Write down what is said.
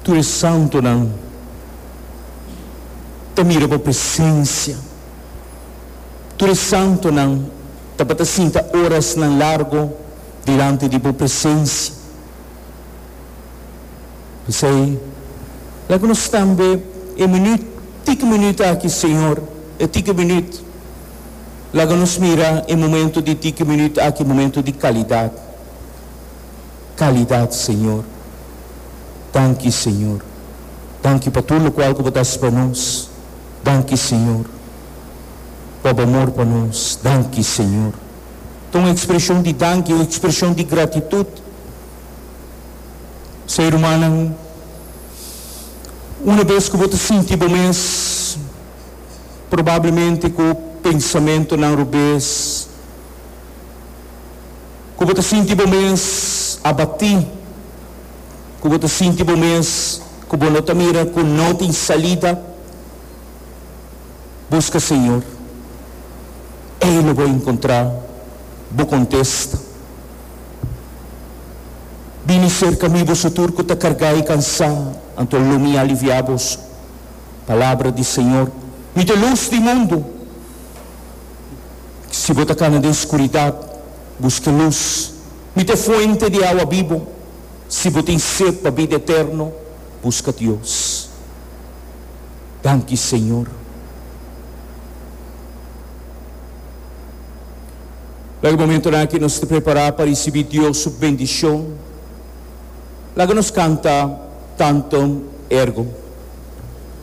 Tur e santonan ta mira bo presencia. Tur e santonan tabata sinta orasnan largo dilanti di bo presencia. P'esei, laga nos tambe e minuut, tiki minuut aki, Señor, e tiki minuut, laga nos mira e momento di tiki minuut aki momento di calidad. Calidad, Señor. Danki, Señor. Danki pa tur locual cu Bo ta haci pa nos. Danki, Señor, pa Bo amor pa nos. Danki, Señor. Ta un expresion di danki, un expresion di gratitud. Ser rumannan, una bes ku bo ta sinti bo mes probablemente ku pensamentonan robes, ku bo ta sinti bo mes abatí, ku bo ta sinti bo mes ku bo no ta mira ku no tin salida, buska Señor. Ei lo bo enkontrá bo kontesta. Bini serka mi, boso tur ku ta kargá i kansá, anto lo mi aliviá boso. Palabra di Señor. Mi ta e lus di mundu. Si bo ta kana den skuridat, buska e lus. Mi ta e fuente di awa bibu. Si bo tin set pa bida eterno, buska Dios. Danki, Señor. Laga e momentonan aki nos ta prepará pa risibí Dios su bendishon. Laga nos kanta Tantum Ergo.